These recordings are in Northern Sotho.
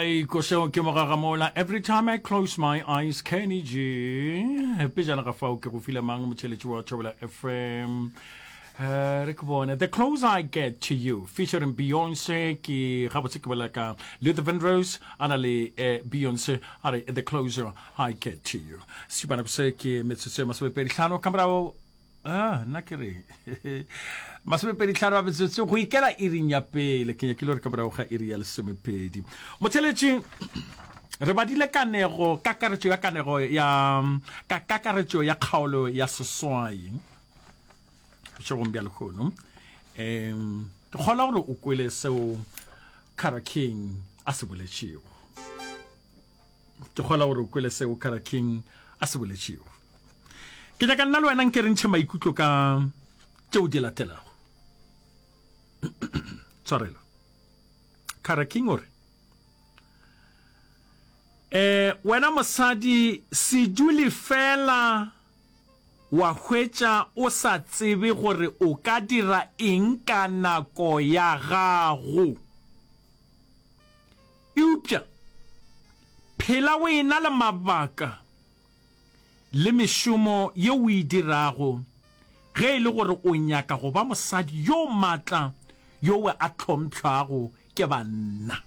Ai, košeo ke mogagamola. Every time I close my eyes, Kenny G. Pejana ga fao ke go file mang motšheletši wa Thobela FM. Uh, re ke bone The Closer I Get to You featuring Beyonce ke gabotse ke bolela ka Luther Vandross a na le eh, Beyonce a re The Closer I Get to You. Šupana se ke metsotso e masomepedi hlano ka morago Ah, nna ke re masomepeditlhano a metsotso go ikela iring ya pele ke nyakile gore ka morago ga iri ya lesomepedi motheletši re badile kanego kakaretšo ya kanego ya ka kakaretšo ya kgaolo ya seswai bošegong bja lehono um ke kgona gore o kwele seo Cara King a se boletšego Ke kgola gore o kwele seo Cara King a se boletšego. Ke nyaka nna le wena nke re ntšhe maikutlo ka tšeo di latelago. Tshwarelo. Cara King o re, Eh, wena mosadi se dule fela wa hwetša o sa tsebe gore o ka dira eng ka nako ya gago. Eupša phela o e-na le mabaka le mešomo ye o e dirago ge e le gore o nyaka go ba mosadi yo matla yo a hlompšhago ke banna.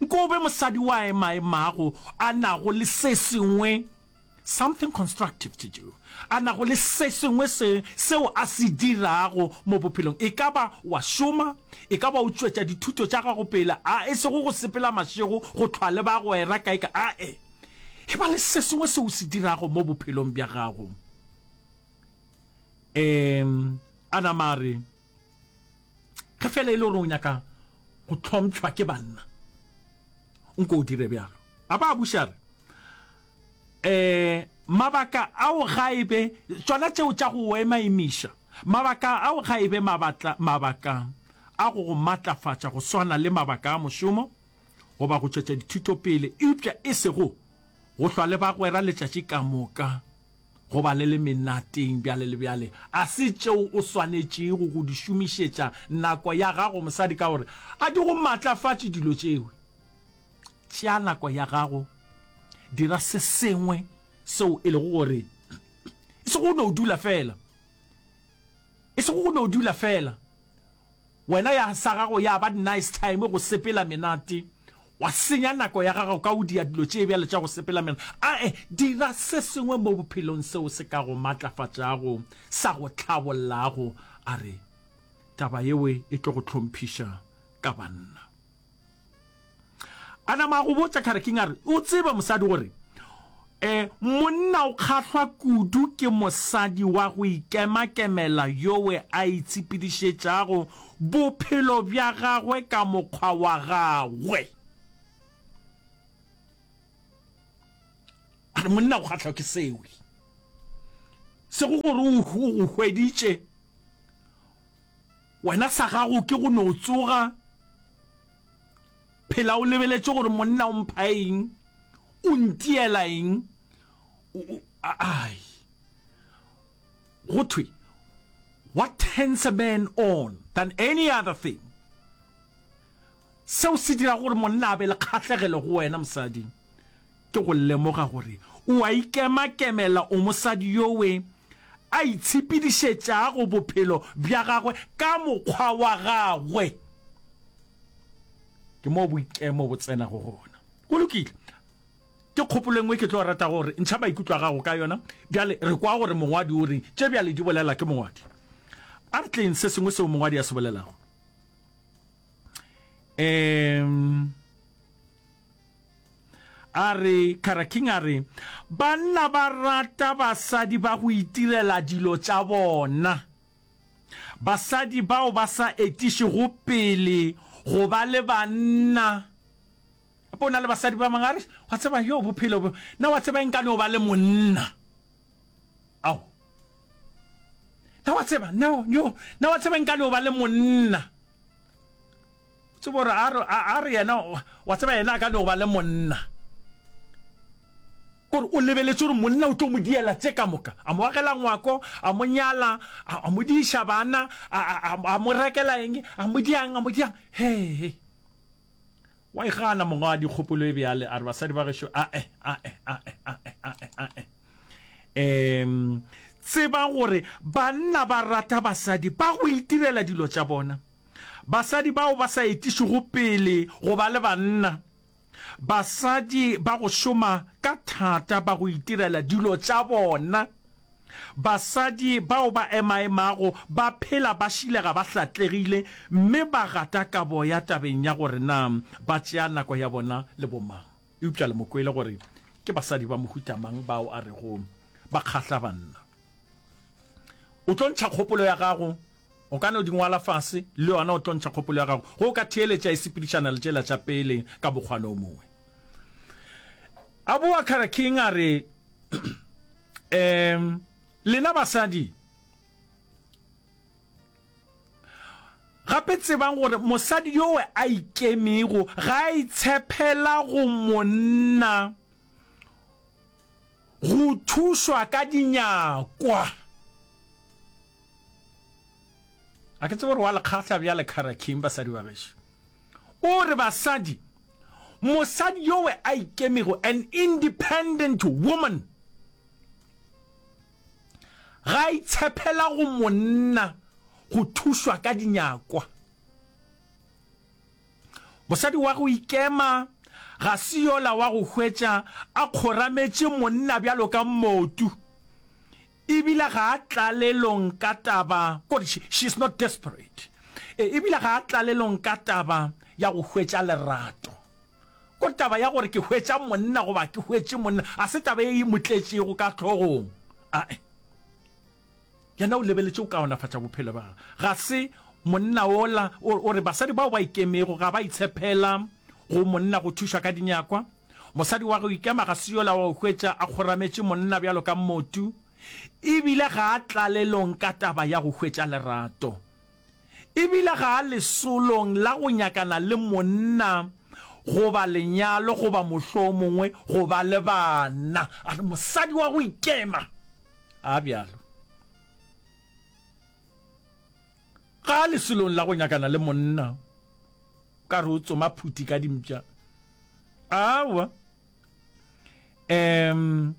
Nko o be mosadi wa emaemago a nago le se sengwe, something constructive to do, a nago le se sengwe se, seo a se dirago mo bophelong. E ka ba wa šoma, e ka ba o tšwetša dithuto tša gago pele, a e sego go sepela mašego, go hlwa le bagwera kae kae, ae. E ba le se sengwe seo o se dirago mo bophelong bja gago. Um, a nama a re, Ge feela e le gore o nyaka go hlompšhwa ke banna, nko o dire bjalo. A ba a buša a re, Um, mabaka ao ga e be tšona tšeo tša go emaemiša. Mabaka ao ga e be mabatla, mabaka a go go matlafatša go swana le mabaka a mošomo goba go tšwetša dithuto pele, eupša e sego go hlwa le bagwera letšatši ka moka. Go ba le le menateng bjale le bjale a se tšeo o swanetšego go di šomišetša nako ya gago mosadi ka gore a di go matlafatše dilo tšeo. Tšea nako ya gago, dira se sengwe seo e lego gore e sego go no dula fela, e sego go no dula fela. Wena ya sa gago ya ba nice time go sepela menate, wa senya nako ya gago ka go dia dilo tše bjalo tša go sepela menate. Ae, dira se sengwe mo bophelong seo se ka go matlafatšago, sa go hlabollago. A re, Taba yeo e tlo go hlomphiša ka banna. A nama a go botša Khareking a re, O tsebe mosadi gore e monna o kgahlwa kudu ke mosadi wa go ikemakemela yowe a itshepedišetšago bophelo bja gagwe ka mokgwa wa gagwe. A re monna o kgahlwa ke sewe. Sego gore o go hweditše wena sa gago ke go no tsoga Phela o lebeletše gore monna o mpha eng, o ntiela eng, ai. Go thwe, what turns a man on than any other thing? Seo se dirago gore monna a be le kgahlegelo go wena, mosadi, ke go lemoga gore o a ikemakemela, o mosadi yowe a itshepedišetšago bophelo bja gagwe ka mokgwa wa gagwe. Ke moo boikemo bo tsenago gona. Go lokile. Ke kgopolo e nngwe ke tlo rata gore ntšha maikutlo a gago ka yona. Bjale re kwa gore mongwadi o reng. Tše bjale di bolela ke mongwadi. A re tleng se sengwe seo mongwadi a se bolelago. Um, a re, Kara King a re, banna ba rata basadi ba go itirela dilo tša bona. Basadi bao ba sa etišego pele go ba le banna. Gape o na le basadi ba bangwe a re, wa tseba, yo bophelo bo, na wa tseba nka no ba le monna. Ao. Na wa tseba, no, yo, na wa tseba nka no ba le monna. Tsebo gore a re, a re yena, wa tseba yena a ka no ba le monna. Kore o lebeletše gore monna o tlo mo diela tše ka moka, a mo agela ngwako, a mo nyala, a, a mo diiša bana, a, a, a, a mo rekela eng, a mo diang, a mo diang. Hee. Wa e gana mongwadi kgopolo e bjale, a re basadi ba gešo ae, ae, ae, ae, ae, ae. Um, tseba gore banna ba rata basadi ba go itirela dilo tša bona. Basadi bao ba sa etišego pele go ba le banna. Basadi ba go šoma ka thata ba go itirela dilo tša bona. Basadi bao ba emaemago ba phela ba šilega ba hlatlegile mme ba gata ka boya tabeng ya gore na ba tšea nako ya bona le bomang. Eupša le mo kwele gore ke basadi ba mohuta mang bao a rego ba kgahla banna. O tlo ntšha kgopolo ya gago, o ka no di ngwala fase, le yona o tlo ntšha kgopolo ya gago. Ge o ka theeletša e sepedišana le tšela tša pele ka mokgwana o mongwe. A boa Kara King a re, Um, lena basadi, gape tsebang gore mosadi yowe a ikemego ga a itshepela go monna go thušwa ka dinyakwa. A ke tsebe gore wa le kgahla bjale Kara King, basadi ba gešo. O re basadi, mosadi yowe a ikemego, an independent woman, ga a itshepela go monna go thušwa ka dinyakwa. Mosadi wa go ikema ga se yola wa go hwetša a kgorametše monna bjalo ka mmotu. Ebile ga a tlalelong ka taba, kore she, she is not desperate. E, ebile ga a tlalelong ka taba ya go hwetša lerato. Kore taba ya gore ke hwetša monna goba ke hwetše monna, ga se taba ye e mo tletšego ka hlogong. Ae. Yena o lebeletše go kaonafatša bophelo bja gagwe. Ga se monna wola, o, o re basadi bao ba ikemego ga ba itshepela go monna go thušwa ka dinyakwa. Mosadi wa go ikema ga se yola wa go hwetša a kgorametše monna bjalo ka mmotu, e bile ga a tlalelong ka taba ya go hwetša lerato. E bile ga a lesolong la go nyakana le monna goba lenyalo goba mohlomongwe go ba le bana. A re mosadi wa go ikema ga a bjalo. Ga a lesolong la go nyakana le monna. O ka re o tsoma phuti ka dimpša. Aowa. Um,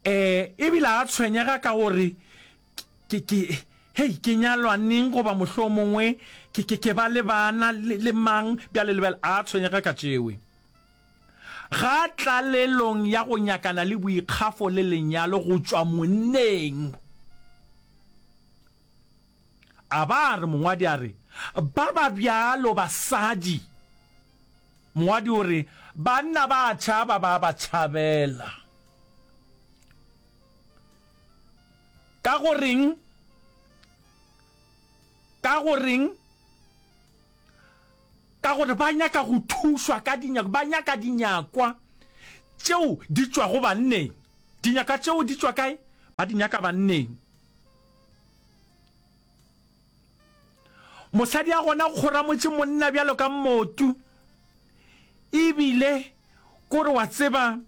eh, ebile a tshwenyega ka gore ke, ke, hei, ke nyalwa neng goba mohlomongwe ke, ke, ke ba le bana le, le mang bjale le bjale. A tshwenyega ka tšewe. Ga tlalelong ya go nyakana le boikgafo le lenyalo go tšwa monneng. A ba a re, mongwadi a re, ba ba bjalo basadi. Mongwadi o re, banna ba a tšhaba, ba ba tšhabela. Ka go reng? Ka go reng? Ka gore ba nyaka go thušwa ka dinyakwa, ba nyaka dinyakwa tšeo di tšwago banneng. Dinyakwa tšeo di tšwa kae? Ba di nyaka banneng. Mosadi a gona kgoramotše monna bjalo ka mmotu. Ebile kore wa tseba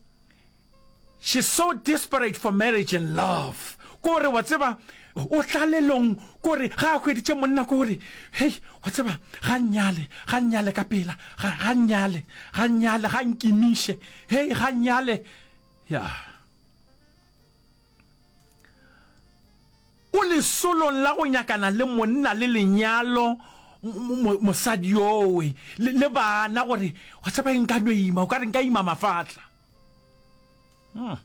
she's so desperate for marriage and love. Kore wa tseba o tlalelong kore ga a hweditše monna kore hei wa tseba ga nnyale ga nnyale ka pela ga ga nnyale ga nnyale ga nkimiše hei ga nnyale ya. O lesolong la go nyakana le monna le lenyalo, mosadi yowe, le, le bana, gore, wa tseba eng, nka no ima, o ka re nka ima mafatla. Hmm.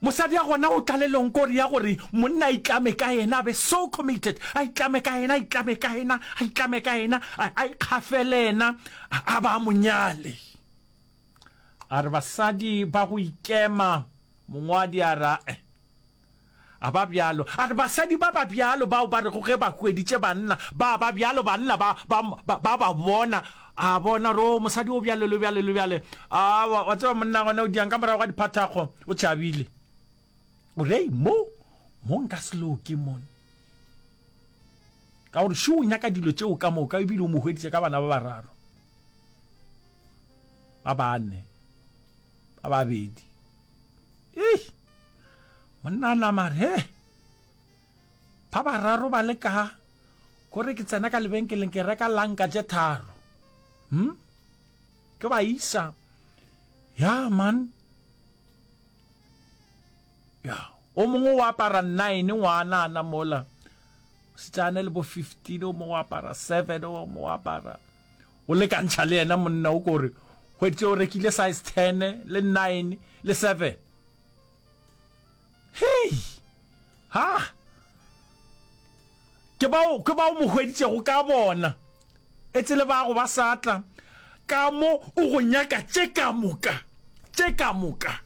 Mosadi ya gona o tlalelong kore ya gore monna a itlame ka yena, a be so committed, a itlame ka yena, a itlame ka yena, a itlame ka yena, a ikgafele yena, a ba a mo nyale. A re basadi ba go ikema, mongwadi a re ae, a ba bjalo. A re basadi ba ba bjalo bao ba rego ge ba hweditše banna ba ba bjalo, banna ba, ba, ba, ba ba bona, a bona gore o mosadi o bjalo le bjale le bjale. A wa, wa tseba monna gona o diang ka morago ga diphathakgo, o tšhabile. O re, mo, mo nka se loke mon. Ka gore šo o nyaka dilo tšeo ka moka ebile o mo hweditše ka bana ba bararo. Ba bane, ba babedi. Ei, monna a nama re, he. Ba bararo ba le ka, kore ke tsena ka lebenkeleng ke reka lanka tše tharo. Hm? Ke ba isa. Ya man. Ya, o mongwe o apara 9 ngwanana mola. Setsana le bo 15 o mongwe o apara 7 o mongwe o apara. O lekantšha le yena monna o kore hweditše o rekile size 10 le 9 le 7. Hei! Ha! Ke bao, ke bao mo hweditšego ka bona. Etse le bago ba sa tla, ka mo o go nyaka tše ka moka, tše ka moka.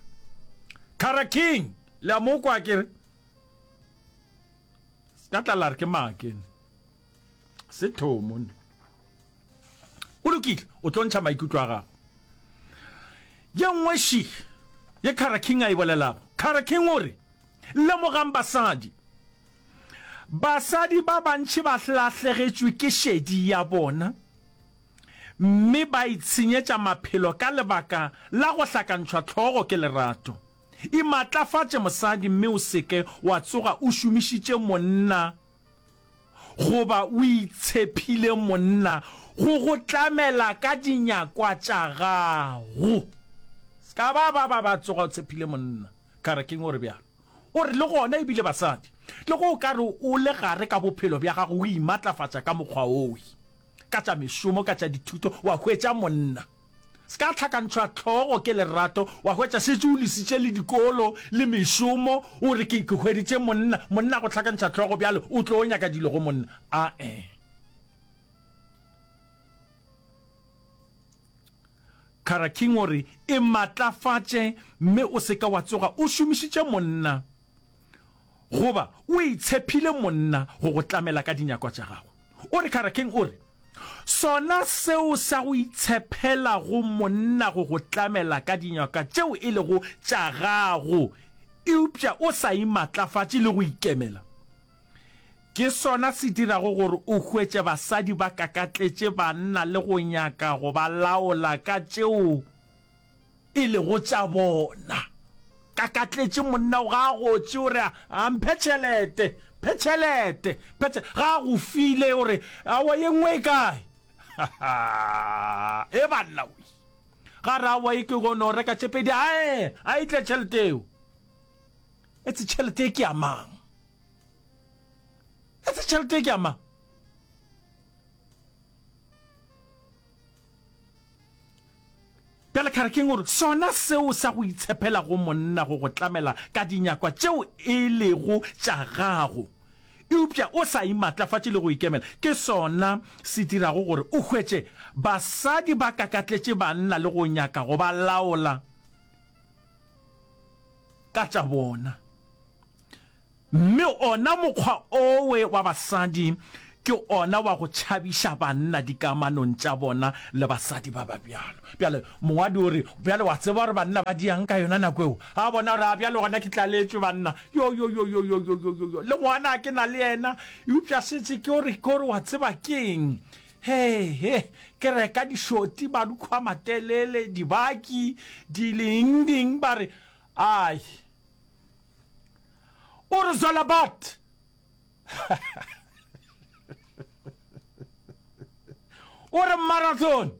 Cara King, le a mo kwa ke re? Se ka tla la re ke maake. Se thomo ne. Go lokile, o tlo ntšha maikutlo a gago. Ye nngwe še ye Cara King a e bolelago. Cara King o re, Lemogang basadi. Basadi ba bantši ba lahlegetšwe ke šedi ya bona mme ba itshenyetša maphelo ka lebaka la go hlakantšhwa hlogo ke lerato. Imatlafatše mosadi mme o se ke wa tsoga o šomišitše monna goba o itshephile monna go go tlamela ka dinyakwa tša gago. Se ka ba ba ba ba tsoga o tshephile monna. Ka re, Ke'ng o re bjalo? O re, Le gona e bile basadi, le ge o ka re o le gare ka bophelo bja gago o imatlafatša ka mokgwa owe, ka tša mešomo, ka tša dithuto, wa hwetša monna. Se ka hlakantšhwa hlogo ke lerato, wa hwetša šetše o lesitše le dikolo le mešomo, o re ke, ke hweditše monna, monna a go hlakantšha hlogo bjale o tlo nyaka dilo go monna. Ae. Cara King o re, E matlafatše mme o se ke wa tsoga o šomišitše monna goba o itshephile monna go go tlamela ka dinyakwa tša gago. O re Cara King o re, Sona seo sa go itshephela go monna go go tlamela ka dinyakwa tšeo e lego tša gago eupša o sa imatlafatše le go ikemela, ke sona se dirago gore o hwetše basadi ba kakatletše banna le go nyaka go ba laola ka tšeo e lego tša bona. Kakatletše monna o ga a gotše o re a mphe tšhelete, mphe tšhelete, mphe tšhelete. Ga a go file o re aowa ye nngwe e kae? E banna we. Ga re aowa e ke go no reka tše pedi, ae a e tle tšhelete eo. Etse tšhelete e ke ya mang? Etse tšhelete e ke ya mang? Bjale Kharakeng o re, Sona seo sa go itshepela go monna go go tlamela ka dinyakwa tšeo e lego tša gago, eupša o sa imatlafatše le go ikemela, ke sona se dirago gore o hwetše basadi ba kakatletše banna le go nyaka go ba laola ka tša bona. Mme ona mokgwa owe wa basadi ke ona wa go tšhabiša banna dikamanong tša bona le basadi ba ba bjalo. Bjale mongwadi o re, Bjale wa tseba gore banna ba diang ka yona nako eo? A bona gore a bjale gona ke tlaletšwe banna. Yo, yo, yo, yo, yo, yo, yo, yo, yo. Le ngwana ke na le yena, eupša šetše ke gore, ke gore wa tseba keng? He, he, ke reka dišoti, marukhu a matelele, dibaki, dileng, ding, ba re, Ai. O re Zolabat. O re marathon.